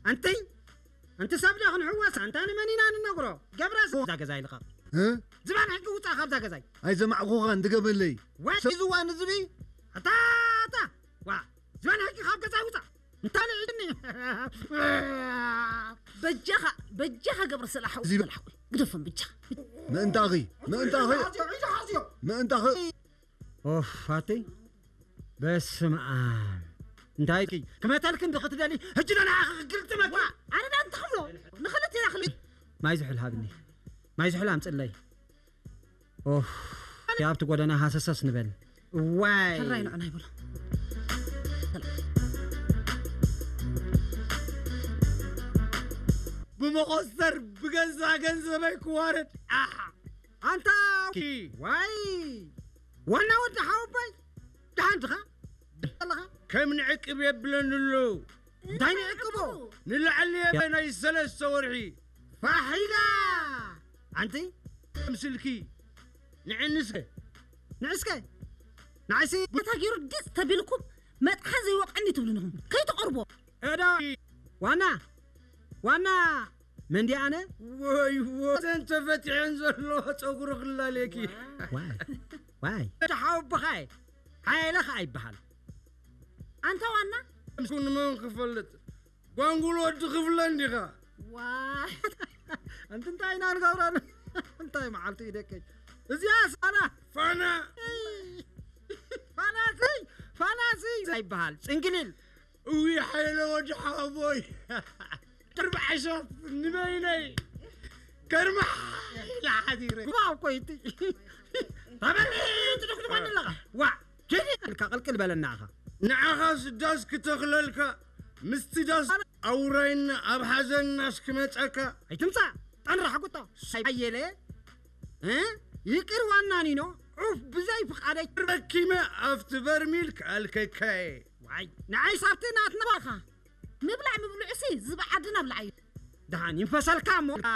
ኣንቲ ኣንቲ ሰብ ዶ ክንሕወስ? ኣንታ ንመን ኢና ንነግሮ? ገብረስ እዛ ገዛ ይልቐቕ። እ? ዝባን ሕጂ ውፃእ ካብዛ ገዛይ። ኣይሰማዕኹኻን፣ ድገመለይ። ወይ ዝዋ ንዝቢ? ኣታ፣ ኣታ! ዋ! ዝባን ሕጂ ካብ ገዛይ ውፃእ። እንታይ ልዕድኒ? በጃኻ፣ በጃኻ ገብረ ሰላሕ፣ እዚ በላሕ። ግደፎም በጃኻ። ምእንታኺ፣ ምእንታኺ፣ ሓዝዮ፣ ሓዝዮ፣ ሓዝዮ። ምእንታኺ። ኦፍ፣ ኣቲ። በስመ ኣብ። እንታይ ክመተልክን ዶ ክትደሊ? ሕጂ ዶ ንዓኺ ክግልጥመኪ? ዋ፣ ኣነ ዳ እንተኽብሎ፣ ንኽልተ ኢና ክል- ማይ ዝሑል ሃብኒ። ማይ ዝሑል ኣምጽለይ። ኦፍ። ኣብቲ ጎደና ሃሰሰስ ንበል። እዋይ። ሕራይ ንዑና ይብሎ። ብመኾስተር ብገዛ ገንዘበይ ክዋረድ። ኣሓ። ኣንታ። ኪ። ዋይ። ዋና ወዲ ሓወቦይ። ደሓን ድኻ? ኣለኻ? ከም ንዕቅብ የብለኒ ኣሎ። እንታይ ንዕቅቦ? ንላዕሊ ናይ ሰለስተ ወርሒ። ፋሒላ! ኣንቲ? ምስልኪ። ንዕንስከ። ንዕስከ? ንዓይሲ? ቦታ ገይሩ ዲፅ ተቢልኩም መጥሓን ዘይወቕዐኒ ትብሉ ንኹም። ከይትቐርቦ። እዳ ዋና፣ ዋና መንዲ ኣነ? ወይ፣ ወይ፣ እዘን ተፈቲሐን ዘለዋ ጸጉሪ ክላለየኪ። ዋይ፣ ዋይ። እቲ ሓወቦኻይ፣ ሓይለ ኸኣ ይበሃል። ኣንታ ዋና? ምስኩ ንመን ክፈልጥ? ጓንጉል ወዲ ክፍለ እንዲኻ። ዋይ። ኣንቲ እንታይ ኢና ንገብረሉ? እንታይ መዓልቲ እዩ ደቀይ? እዚኣ ሳና። ፋና። ፋናሲ፣ ፋናሲ ይበሃል። ጽንግሊል። እዊ ሓይለ ወዲ ሓወቦይ። ቅርቢ ዓሻፍ ንበይነይ። ከርማ ኢላ ሓዲረ። ጉባእ እኮ እዩ እቲ። ተበል ትድኩድኳኒ ኣለኻ። ዋ፣ ኬዲ ኢልካ ቅልቅል በለና ኢኻ። ንዓኻስ ዳስ ክተኽለልካ፣ ምስቲ ዳስ ኣውራይና ኣብ ሓዘን ናስ ክመጸካ። ኣይትምጻእ፣ ጠንራሕ ጉጦ። ኣየለ፣ እ? ይቅር ዋና ኒኖ፣ ዑፍ ብዘይ ፍቓደይ። ረኪመ ኣብቲ በርሚል ክኣልከካየ። ዋይ፣ ንዓይ ሳብቲ ናትና ባኻ። ምብላዕ ምብልዑሲ ዝብዓድና ብላዕ እዩ። ደሓን ይንፈሰልካ እሞ፣ ኣ፣